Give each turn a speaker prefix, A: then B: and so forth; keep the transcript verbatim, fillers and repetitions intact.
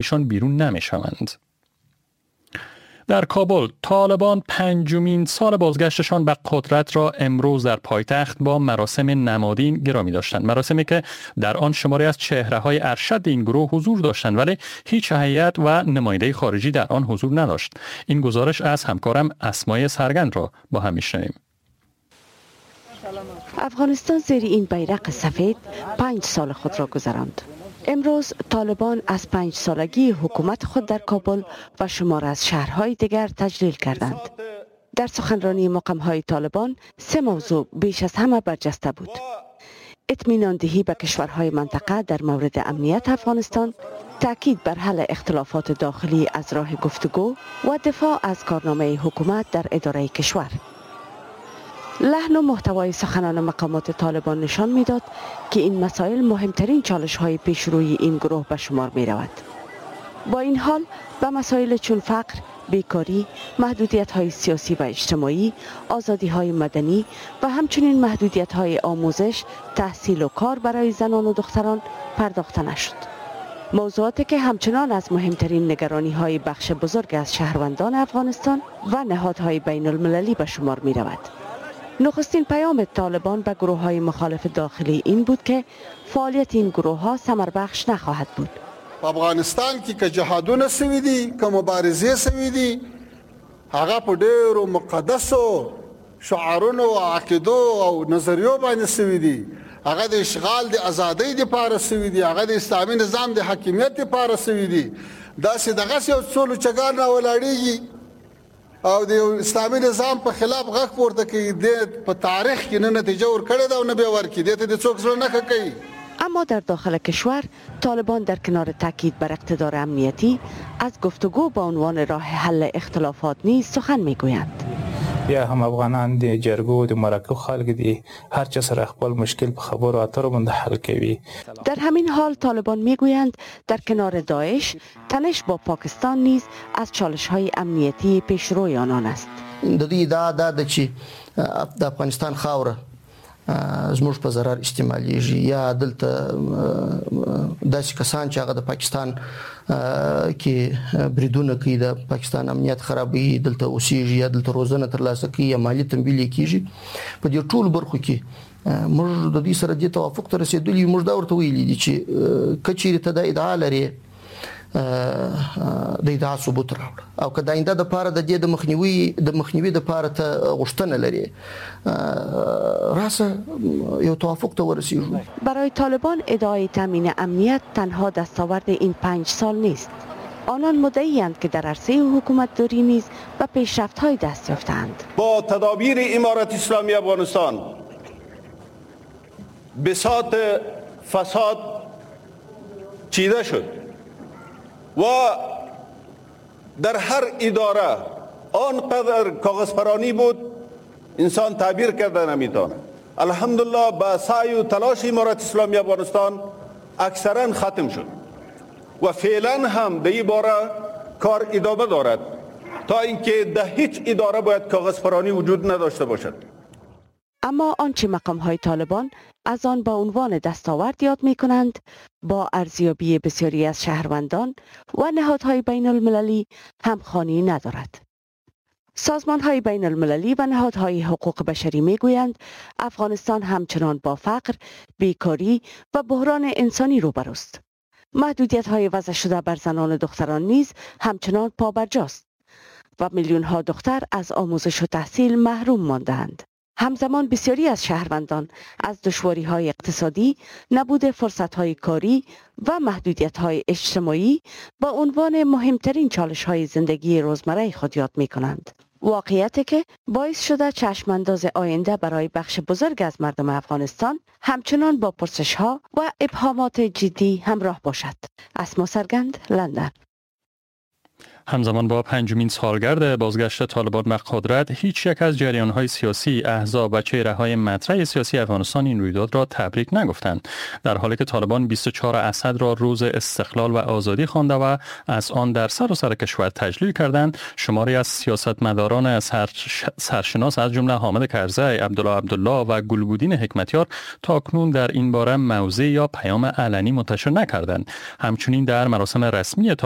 A: ایشان بیرون نمیشوند. در کابل، طالبان پنجمین سال بازگشتشان به قدرت را امروز در پایتخت با مراسم نمادین گرامی داشتند. مراسمی که در آن شماری از چهره‌های ارشد این گروه حضور داشتند، ولی هیچ هیئت و نماینده خارجی در آن حضور نداشت. این گزارش از همکارم اسمای سرگند را با هم میشنویم.
B: افغانستان زیر این بیرق سفید پنج سال خود را گذراند. امروز طالبان از پنج سالگی حکومت خود در کابل و شمار از شهرهای دیگر تجلیل کردند. در سخنرانی مقامهای طالبان سه موضوع بیش از همه برجسته بود: اطمینان دهی به کشورهای منطقه در مورد امنیت افغانستان، تاکید بر حل اختلافات داخلی از راه گفتگو و دفاع از کارنامه حکومت در اداره کشور. لحن و محتوای سخنان مقامات طالبان نشان میداد که این مسائل مهمترین چالش های پیش روی این گروه به شمار می رود. با این حال به مسائل چون فقر، بیکاری، محدودیت های سیاسی و اجتماعی، آزادی های مدنی و همچنین محدودیت های آموزش، تحصیل و کار برای زنان و دختران پرداخته نشد. موضوعاتی که همچنان از مهمترین نگرانی های بخش بزرگ از شهروندان افغانستان و نهادهای بین المللی به شمار می رود. نخستین پیام طالبان به گروه های مخالف داخلی این بود که فعالیت این گروه ها ثمربخش نخواهد بود.
C: په افغانستان کې که جهادونه سوي دي، که مبارزې سوي دي، هغه په ډېرو مقدسو شعارونو او عقیدو او نظریو باندې سوي دي. هغه د اشغال د ازادۍ دپاره سوي دي، هغه د اسلامي نظام د حاکمیت دپاره سوي دي. داسې دغسې یو څو لوچګان راولاړېږي او د اسلامي نظام په خلاف غږ پورته کوي، د په تاریخ کې نه نتیجه ورکړې ده او نه به ورکړي، دې ته د څوک زړه نه ښه کوي.
B: اما در داخل کشور طالبان در کنار تاکید بر اقتدار امنیتی از گفتگو با عنوان راه حل اختلافات نیز سخن میگویند.
D: بیا هم افغانان د جرګو د مرکو خلک دي، هر چا سره خپل مشکل په خبرو اترو باندې حل کوي.
B: در همین حال طالبان میگویند در کنار داعش تنش با پاکستان نیز از چالش‌های امنیتی پیشروی آنان است.
E: د دې ادعا دا ده چې د افغانستان خاوره زموږ په ضرر استعمالیږي، یا دلته داسې کسان چې هغه د پاکستان کې بریدونه کوي، د پاکستان امنیت خرابوي، دلته اوسیږي یا دلته روزنه ترلاسه کوي یا مالي تمویل یې کیږي. په دې ټولو برخو کې موږ د دې سره دې توافق ته رسېدلي یو. موږ دا ورته ویلي دي چې که چیرې ته دا ادعا لرې، د ادعا ثبوت راوړه، او که د آینده دپاره د دې د مخنیوي د مخنیوي دپاره ته غوښتنه لرې، راسه یو توافق ته ورسیږو.
B: برای طالبان ادعای تامین امنیت تنها دستاورد این پنج سال نیست. آنان مدعی‌اند که در عرصه حکومتداری نیز به پیشرفت‌های دست یافته‌اند.
F: با تدابیر امارت اسلامی افغانستان بساط فساد چیده شد و در هر اداره آنقدر کاغذ پرانی بود انسان تعبیر کرده نمیتونه. الحمدلله با سعی و تلاش امارت اسلامی افغانستان اکثرا ختم شد و فعلا هم در این باره کار ادامه دارد تا اینکه در هیچ اداره باید کاغذ پرانی وجود نداشته باشد.
B: اما آنچه مقام‌های طالبان از آن با عنوان دستاورد یاد می‌کنند با ارزیابی بسیاری از شهروندان و نهادهای بین المللی همخوانی ندارد. سازمان‌های بین المللی و نهادهای حقوق بشری می‌گویند افغانستان همچنان با فقر، بیکاری و بحران انسانی روبروست. محدودیت‌های وضع شده بر زنان و دختران نیز همچنان پابرجاست و میلیون‌ها دختر از آموزش و تحصیل محروم مانده‌اند. همزمان بسیاری از شهروندان از دشواری‌های اقتصادی، نبود فرصت‌های کاری و محدودیت‌های اجتماعی با عنوان مهمترین چالش‌های زندگی روزمره خود یاد می‌کنند. واقعیتی که باعث شده چشم‌انداز آینده برای بخش بزرگ از مردم افغانستان همچنان با پرسش‌ها و ابهامات جدی همراه باشد. اسما سرگند، لندن.
A: همزمان با پنجمین سالگرد بازگشت طالبان به قدرت، هیچ یک از جریان‌های سیاسی، احزاب و چهره‌های مطرح سیاسی افغانستان این رویداد را تبریک نگفتند، در حالی که طالبان بیست و چهار اسد را روز استقلال و آزادی خوانده و از آن در سراسر کشور تجلیل کردند. شماری از سیاستمداران سرشناس از جمله حامد کرزی، عبدالله عبدالله و گلبودین حکمتیار تاکنون در این باره موضع یا پیام علنی منتشر نکردند. همچنین در مراسم رسمی طالبان